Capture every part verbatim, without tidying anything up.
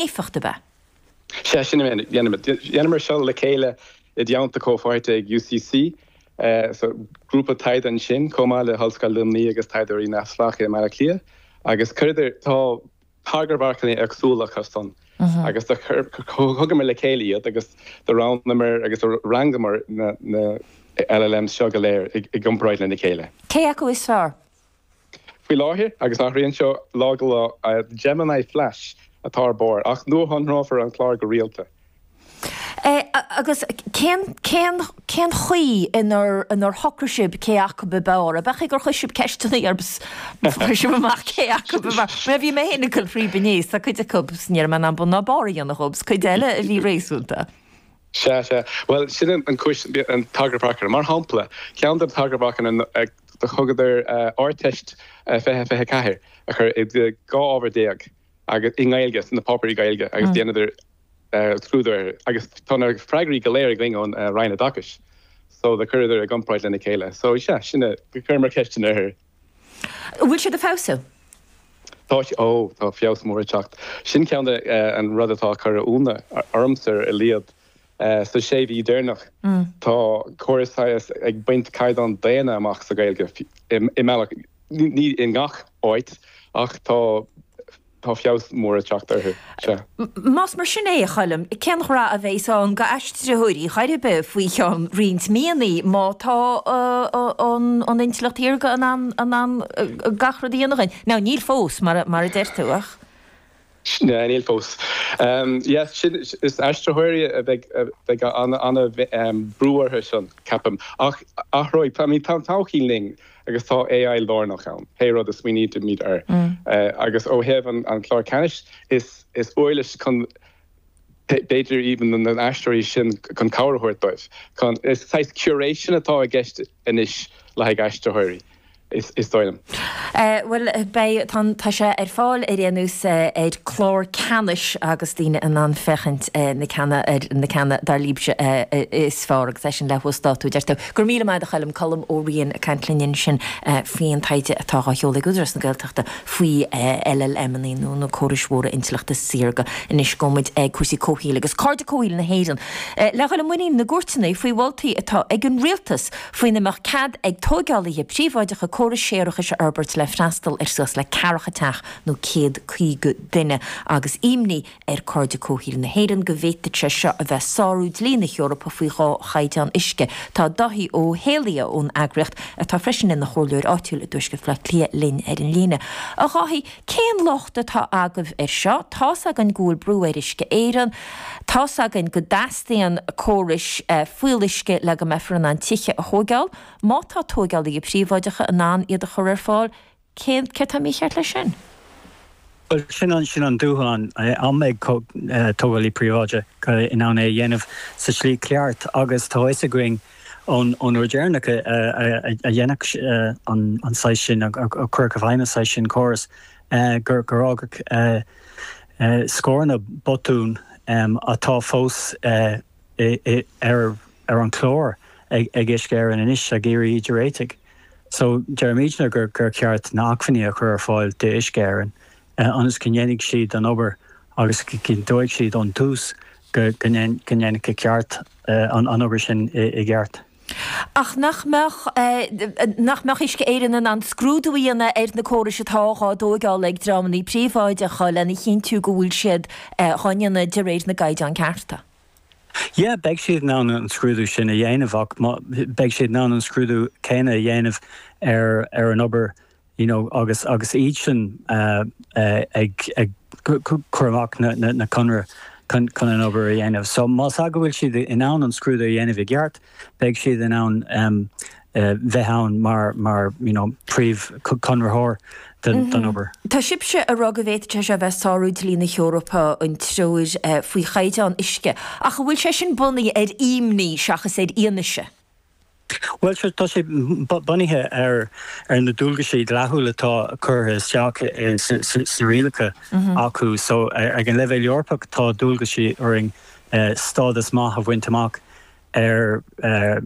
Éifeacht ab ea? Sea, sin a dhéanamar. Dhéanamar seo le chéile i dteannta comhpháirtithe ag U C C, so grúpa taighde ansin, chomh maith le hOllscoil Luimnigh agus taighdeoirí neamhspleácha i mBaile Átha Cliath, agus chuireadar, tá tagarmharcanna éagsúla acusan agus do thugamar le chéile iad agus do roghnaíomar agus do rangaíomar na na L L Ms seo go léir i gcomparáid lena chéile. Cé acu is fearr? Faoi láthair, agus athraíonn seo lá go lá, Gemini Flash atá ar barr, ach nuashonrófar an clár go rialta. Agus cén cén cén chaoi inar inar shocraigh sibh cé acu ab fhearr? Ab é gur chuir sibh ceisteanna orthu fuair sibh amach cé acu ab fhearr? Mar bhí mé féin ag dul fríob inné, tá cuid acu ní raibh mé in ann bun ná barr a dhéanamh dhób, 's cuid eile a bhí réasúnta. Sea, sea. Bhuel, sin an chúis an tagarmharcanna. Mar shampla, ceann de na tagarmharcanna do thugadar Ardteist fiche fiche ceathair a chur i dhá ábhar déag agus i nGaeilge, sna páipéirí Gaeilge, agus dhéanadar scrúdú air agus tá na freagraí go léir againn ón Roinn Oideachais. So do chuireadar i gcomparáid lena chéile. So sea, sin chuireamar ceisteanna orthu. Bhfuil siad ag feabhsú? Tá, ó, tá feabhas mór ag teacht. Sin ceann de an rud atá curtha ionadh ormsa ar a laghad sa sé mhí deireanach. Tá córas ag baint caighdeán daonna amach sa Ghaeilge i mbealach, ní i ngach áit, ach tá tá feabhas mór ag teacht orthu. Sea. Más mar sin é, a Choilm, cén rath a bheas ann go aistritheoirí chor ar bith faoi cheann roinnt míonna má tá an an intleacht shaorga in ann in ann gach rud a dhéanamh againn? Now níl fós mar mar a deir tú ach. Ne, níl fós. Yes, sin is aistritheoirí a bheidh bheidh an an brú orthu sin, ceapaim. Ach athróidh, I mean, tá an todhchaí linn agus tá A I lárnach ann, pé rud a smaoinímid air. Agus ó thaobh an an clár ceannais, is is uirlis chun b'fhéidir even na n-aistritheoirí sin chun cabhair a thabhairt dóibh. Chun is saghas curation atá i gceist anois le haghaidh aistritheoirí. Is is dóigh liom. Bhuel, beidh, tá tá sé ar fáil ar aon nós ar clár ceannais agus daoine in ann féachaint na ceanna ar na ceanna dar libhse is fearr agus é sin le huasdátú, deir tú. Go raibh míle maith agat, a Choilm. Colm Ó Riain ag caint linn ansin faoin taighde atá á sheoladh ag Údarás na Gaeltachta faoi L L M-anna nó na córais mhóra intleachta saorga. Anois gabhfaidh muid ag cúrsaí comhshaoil agus Cairde Comhshaoil na hÉireann le dhul i muinín na gcúirteanna faoi mholtaí atá ag an rialtas faoina mbeadh cead ag tógálaithe príobháideacha córais séarachais a fhorbairt le freastal ar suas le ceathracha teach nó céad caoga duine agus imní ar Cairde Comhshaoil na hÉireann go bhféadfadh sé seo a bheith sárú dlí na hEorpa faoi dhá chaighdeán uisce. Tá Dáithí Ó hÉalaithe ón eagraíocht, atá freisin ina chomhairleoir áitiúil i dTuaisceart Bhaile Átha Cliath, linn ar an líne. A Dháithí, cén locht atá agaibh ar seo? Tá's againn go bhfuil brú ar Uisce Éireann, tá's againn go dteastaíonn córais fuíolluisce le go mbeifear in ann tithe a thógáil. Má tá tógálaithe príobháideacha in ann iad a chur ar fáil, cén céard atá mícheart leis sin? Well, sin an sin an dúshlán, an mbeidh tógálaí príobháideach in ann é a dhéanamh sa slí ceart, agus tá fhios againn ón ón uair deireanach a dhéanadh an an saghas sin, a cuireadh i bhfeidhm an saghas sin córas, gur gur fhágadh scóranna botún atá fós ar ar an chlár ag ag Uisce Éireann anois ag iarraidh iad a réiteach. So deirimidne gur gur ceart na hacmhainní a chur ar fáil d'Uisce Éireann ionas go ndéanfaidh siad an obair agus go gcinnteoidh siad ón tús go go ndéanfaidh ceart an an obair sin i gceart. Ach nach mbeadh nach mbeadh Uisce Éireann in ann scrúdú a dhéanamh ar na córais atá á dtógáil ag dreamanna príobháideacha lena chinntiú go bhfuil siad á ndéanamh de réir na gcaighdeán cearta? Yeah, beidh siad in ann an scrúdú sin a dhéanamh, ach beidh siad in ann an scrúdú céanna a dhéanamh ar ar an obair you know, agus agus iad sin uh, uh, ag ag cur amach na, na, na conradh chun chun an obair a dhéanamh. So más go bhfuil siad in ann an scrúdú a dhéanamh i gceart, beidh siad in ann um, uh, bheith ann mar mar you know, príomhchonraitheoir den, den obair. Tá sibhse ag rá go bhféadfadh sé bheith sárú dlí na hEorpa, an treoir faoi chaighdeán uisce, ach an bhfuil sé sin bunaithe ar imní seachas ar fhianaise? Well, sure, tá sé bunaithe ar ar na dualgaisí dlíthiúla atá curtha isteach sna rialacha acu. So ag an leibhéal Eorpach tá dualgaisí orainn stádas maith a bhaint amach ar ar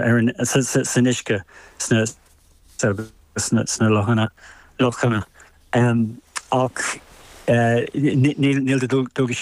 ar san uisce sna sna lochanna lochanna. Um, ach Níl de dualgas